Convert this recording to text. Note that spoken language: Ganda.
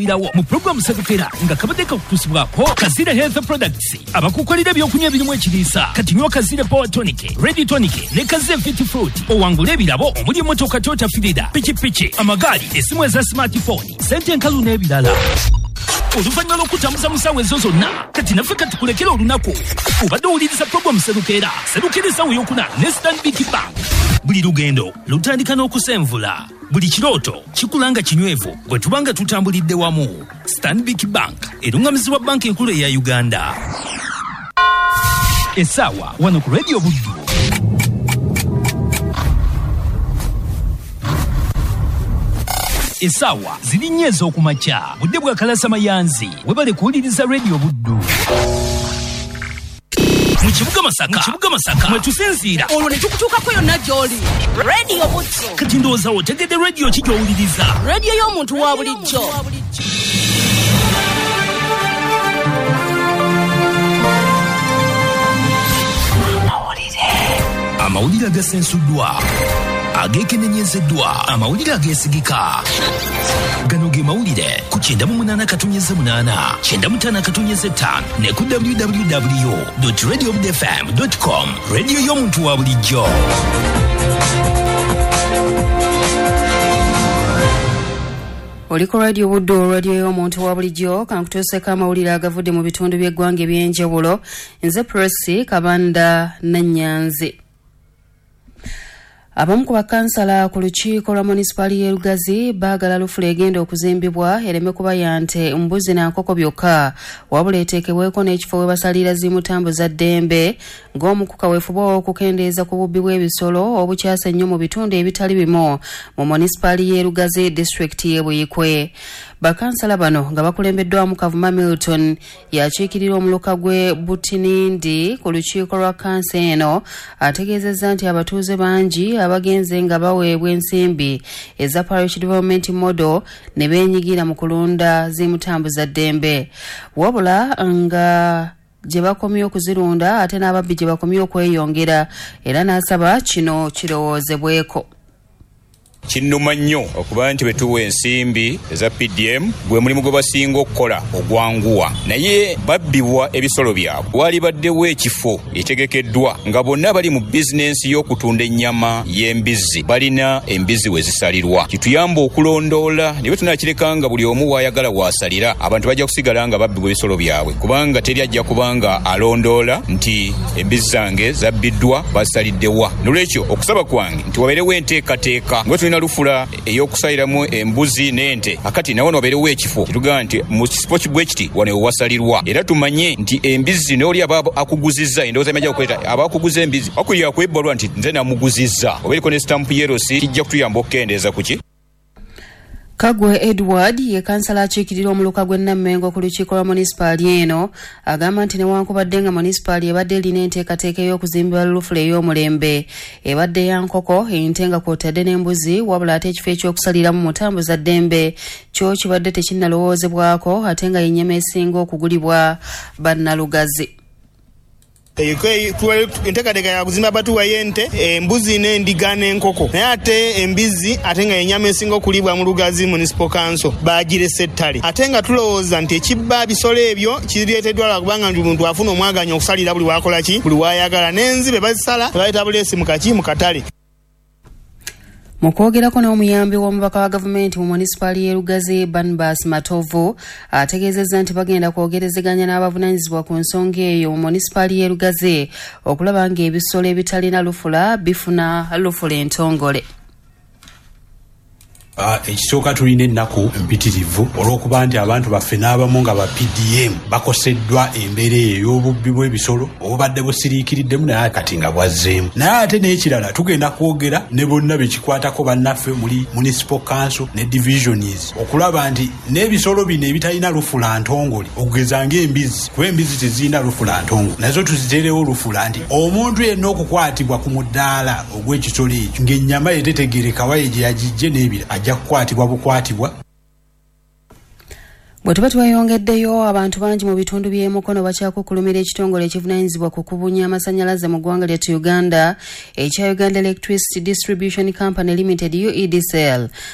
Irawo mu pulogulaamu Sserukera nga kabadde kakutuusibwako Kazire Health Products, abakukolera ebyokunywa ebirimu ekiriisa. Kati nywa Kazire Power Tonic, Red Tonic ne Kazire Fit Fruit, owangule ebirabo omuli emmotoka Toyota Fielder, pikipiki, amagaali, essimu eza smartphone, sente enkalu n'ebirala. Oluvannyuma lw'okutambuza mu ssaawa ezo zonna, kati naffe katukulekera olunaku. Obadde owuliriza pulogulaamu Sserukera, Sserukera essaawa ey'okuna ne Stanbic Bank. Buli lugendo lutandika n'okusenvula, buli kirooto kikula nga kinywevu bwe tuba nga tutambulidde wamu. Stanbic Bank erungamizibwa Banka Enkulu eya Uganda. Essaawa wano ku Radio Buddu. Essaawa ziri nnya ez'okumakya, budde bwa Kalasa Mayanzi. Webale kuwuliriza Radio Buddu. Mu kibuga Masaka, mu kibuga Masaka mwe tusinziira, olwo ne tukutuukako yonna gy'oli. Radio Buddu. Kati ndowooza otegedde radio ki gy'owuliriza. Radio y'omuntu wa bulijjo. Amawulire agasensuddwa, ageekenenyezeddwa, amawulire ageesigika. Gano ge mawulire ku 98.8, 95.5 ne ku www.radiobudfm.com. Radio y'omuntu wa bulijjo. Oli ku Radio Buddu, radio y'omuntu wa bulijjo. Kankutuuseko amawulire agavudde mu bitundu by'eggwanga eby'enjawulo. Nze Prossy Kabanda Nannyanzi. Abamu ku bakansala ku lukiiko lwa munisipaali y'e Lugazi baagala lufula egenda okuzimbibwa ereme kuba ya nte, mbuzi na nkoko byokka, wabula eteekebweko n'ekifo we basalira zimutambuza ddembe ng'omu ku kaweefube okukendeeza ku bubbi bw'ebisolo obukyase ennyo mu bitundu ebitali bimu mu munisipaali y'e Lugazi, disitulikiti y'e Buikwe. Bakansala bano nga bakulembeddwamu Kavuma Milton yakiikirira omuluka gw'e Butinindi ku lukiiko lwa kansa eno, ategeezezza nti abatuuze bangi abagenze nga baweebwa ensimbi eza Parish Development Model ne beenyigira mu kulunda zimutambuza ddembe, wabula nga gye bakomye okuzirunda ate n'ababbi gye bakomye okweyongera, era n'asaba kino kirowoozebweko. Kinnuma nnyo okuba nti bwe tuwa ensimbi eza PDM gwe mulimu gwe basinga okukola ogwanguwa, naye babbibwa ebisolo byabwe. Walibaddewo ekifo ekitegekeddwa nga bonna bali mu bizinensi y'okutunda ennyama y'embizzi balina embizzi we zisalirwa, kituyamba okulondoola. Naye bwe tunaakireka nga buli omu w'ayagala w'asalira, abantu bajja kusigala nga babbibwa ebisolo byabwe, kubanga teri ajja kubanga alondoola nti embizzi zange zabbiddwa, bazisaliddewa. Nolwekyo okusaba kwange nti wabeerewo enteekateeka nga tulina lufula ey'okusaliramu embuzi n'ente, akati nawo wabeerewo ekifo kitugamba nti mu kifo bwe kiti wano wewasalirwa, era tumanye nti embizzi n'oli aba akuguzizza, endowooza emajja okuleeta aba akuguza embizzi akulira kwebbalwa nti nze namuguzizza, oba eriko ne sitampu yerosi, kijja kutuyamba okukendeeza ku ki. Kagwe Edward ye kansala akiikirira omuluka gw'e Nammengo ku lukiiko lwa munisipaali eno, agamba nti newankubadde nga munisipaali ebadde erina enteekateeka ey'okuzimbibwa lufula ey'omulembe ebadde ya nkoko, ente nga kw'otadde n'embuzi, wabula ate ekifo ekyokusaliramu mutambuza ddembe kyo kibadde tekinnalowoozebwako, ate nga y'ennyama esinga okugulibwa bannalugazi. Enteekateeka ya kuzimba batuwa y'ente, embuzi n'endiga n'enkoko, naye ate embizzi ate nga ennyama esinga okulibwa mu Lugazi Municipal Council bagirese ettale, ate nga tulowooza nti ekibba bisolo ebyo kireeteddwa lwa kubanga nti omuntu afuna omwaganya okusalira buli wakola ki, buli wayagala, n'enzibe bazisala tebaleeta buleesi mu kaki mu katale. Mu kwogerako n'omuyambi w'omubaka wa gavumenti mu munisipaali y'e Lugazi Barnabas Matovu, ategeezezza nti bagenda kwogerezeganya n'abavunaanyizibwa ku nsonga eyo mu munisipaali y'e Lugazi okulaba ng'ebisolo ebitalina lufula bifuna lufula entongole. Ekisooka tulina ennaku mpitirivu olw'okuba nti abantu baffe n'abamu nga ba PDM bakoseddwa embeera eyo ey'obubbi bw'ebisolo obubadde busiriikiriddemu, naye kati nga bwazzeemu. Naye ate n'ekirala tugenda kwogera ne bonna bekikwatako bannaffe muli Municipal Council ne divisions okulaba nti n'ebisolo bino ebitalina lufula ntongole, okugeza ng'embizzi, kuba embizzi tezirina lufula ntongole, nazo tuziteerewo lufula nti omuntu yenna okukwatibwa ku mudaala ogw'ekisolo ekyo ng'ennyama ye tetegeereka waye gye yagijje n'ebira ajja kukwatibwa bukwatibwa. Bwe tuba tweyongeddeyo, abantu bangi mu bitundu by'e Mukono bakyakukkulumira ekitongole ekivunaanyizibwa ku kubunya amasannyalaze mu ggwanga lyattu Uganda ekya Uganda Electricity Distribution Company Limited UEDCL.